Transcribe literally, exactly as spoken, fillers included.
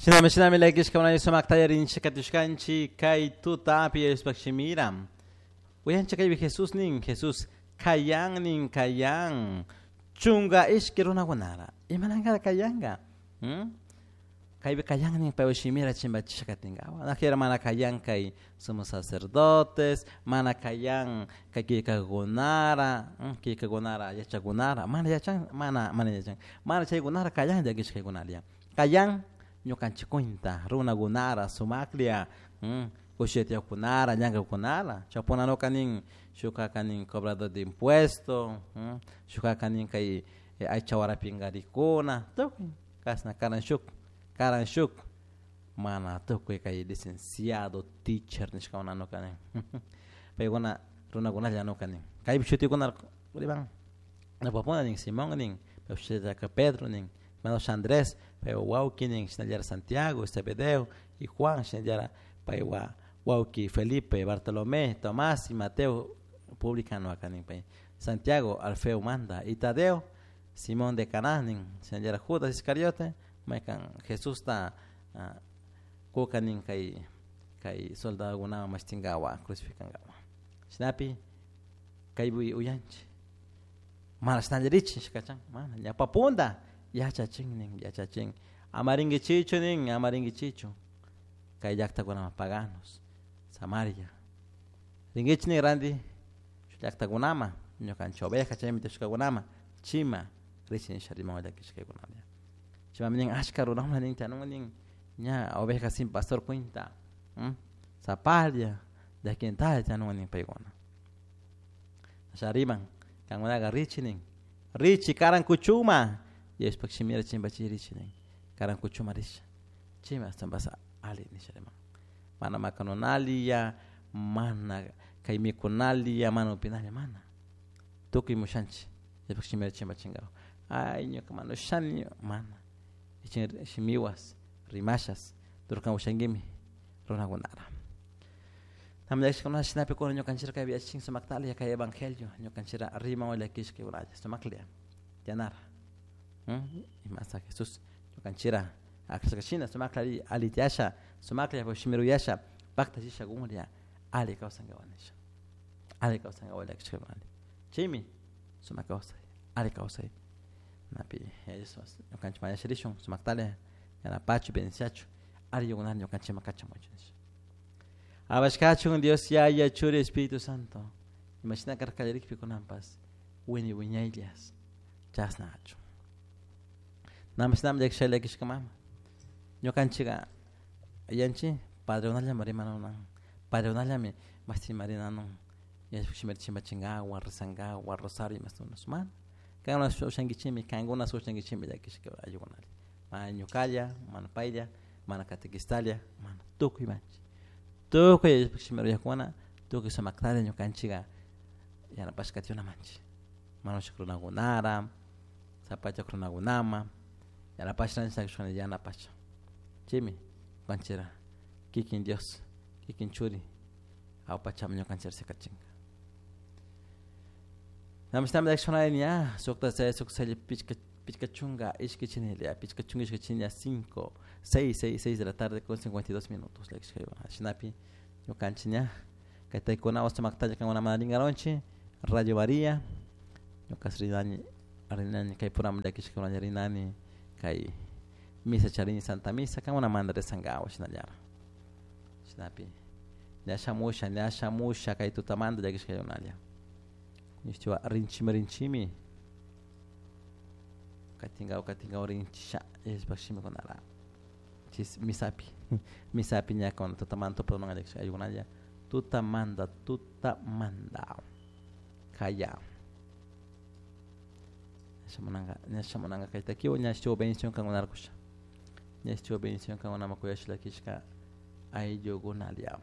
Shinami shinami llakishka sumak tallarinchik katushkanchik kay tutapi Diospaj shimira. Uyanchik kaypi Jesus nin, Jesus kayan nin kayan chunga ishki runakunara. Imanankara kayanka? Hmm? Kaypi kayan nin paypa shimira chimpachisha katinkawa. Najera mana kayan kay sumos sacerdotes, mana kayan kay killkakunara, killkakunara yachakunara, mana yachan, mana mana yachan. Mana chaykunara kayan llakishkaykunalla. Kayan ñukanchik cuenta runakunara sumaklla kushitiyakunara llankaykunara chaypunanuka nin shukaka nin cobrador de impuesto, shukaka nin kay aycha warapinkarikuna tukuy kashna karan shuk karan shuk mana tukuy kay licenciado teacher nishkakunanuka nin paykuna runakunalla nuka nin kaypi shutikuna riman ñawpapuna nin Simón nin paypak shutitaka Pedro nin manash Andrés paypak wawki nin shinallara Santiago, Zebedeo y Juan shinallara paywa wawki Felipe, Bartolomé, Tomás y Mateo publicano nin pay Santiago Alfeo manta y Tadeo Simón de Caná nin shinallara Judas Iscariote maykan Jesusta kuka nin kay kay soldadokunawan mashtinkawa crucificankawa shinapi kaypi uyanchik mana shinallarichik nishkachan mana ñawpa yachachin nin yachachin ama rinkichichu nin ama rinkichichu kay llaktakunaman paganos Samaria rinkichik nin ranti shuk llaktakunaman ñukanchik oveja chaymi tiyashkakunaman chima richik nisha riman llakishkaykunalla chaymanmi nin ashka runakuna nin tiyanun nin ña oveja sin pastor cuenta sapalla llakintalla tiyanun nin paykuna asha riman kankunaka richik nin richik karan kuchuma Diospaj shimira chimpachirichik nin karan kuchuma risha chaymi ashtawanpas ali nisha riman mana makanunalla mana kay mikunalla mana upinalla mana tukuy mushanchik Diospaj shimira chimpachinkapak ay ñuka mana ushani mana shimiwas rimashas turkan ushankimi runakunara Namllashkuna shinapi kuna ñukanchik kaypi yachachin sumaktalla kay evangelio ñukanchik riman llakishkaykunalla sumaklla tiyanara imasa Jesús ñukanchikra akrashka shina sumaklla alli tiyasha sumaklla shimira uyasha paktachisha kunlla alli kawsankapak nisha alli kawsankapak llakishkaykunalla chaymi sumak kawsay alli kawsay napi ñukanchik mañasha rishun sumaktalla yanapachu bendiciachu alli yukunata ñukanchikman kachamuchun nisha Abashkachun Dios Yaya Churi Espíritu Santo imashina karka kallarikpi kunanpas wiñay wiñayllas chasna achun namashinami llakisha llakishka mama ñukanchika yanchik padrekunallami rimanunan padrekunallami mashtimarinanun shimita chimpachinkawan rezankawan rosario imashtimunash mana kankuna ushankichikmi kankuna ushankichikmi llakishka ayllukunalla mana ñukalla mana paylla mana catequistalla mana tukuy manchik tukuy Diospaj shimita uyakuna tukuy sumaktalla ñukanchika yanapashka manchik mana ushak runakunara zapachak runakunama yanapasha yanapasha chaymi ñukanchikra kikin Dios kikin churi awpachaman ñukanchik sikachinka namashinami llakishkunalla ña sukta seis sukta seis pichka pichka chunka ishki chinilla pichka chunka ishki chinilla cinco seis seis seis de la tarde con cincuenta y dos minutos llakishkaykuna shinapi ñukanchik ña kay taykunawan sumaktalla kankunaman rinkaronchik Radio María ñuka rinani rinani kay puraman llakishkakunalla rinani kay misa charini Santa Misa kankunamanta rezankawa shinallara shinapi ña shamusha ña shamusha kay tutamanta llakishkaykunalla nishtiwa rinchimi rinchimi katinkawa katinkawa rinchisha Diospaj shimikunara chis misapi misapi ña kuna tutamanta tupununka llakishka ayllukunalla tutamanta tutamanta kaya shamunanka ña shamunanka kay takiwan ña shuk bendición kankunara kusha ña shuk bendición kankunaman kuyashka llakishka ayllukunalla.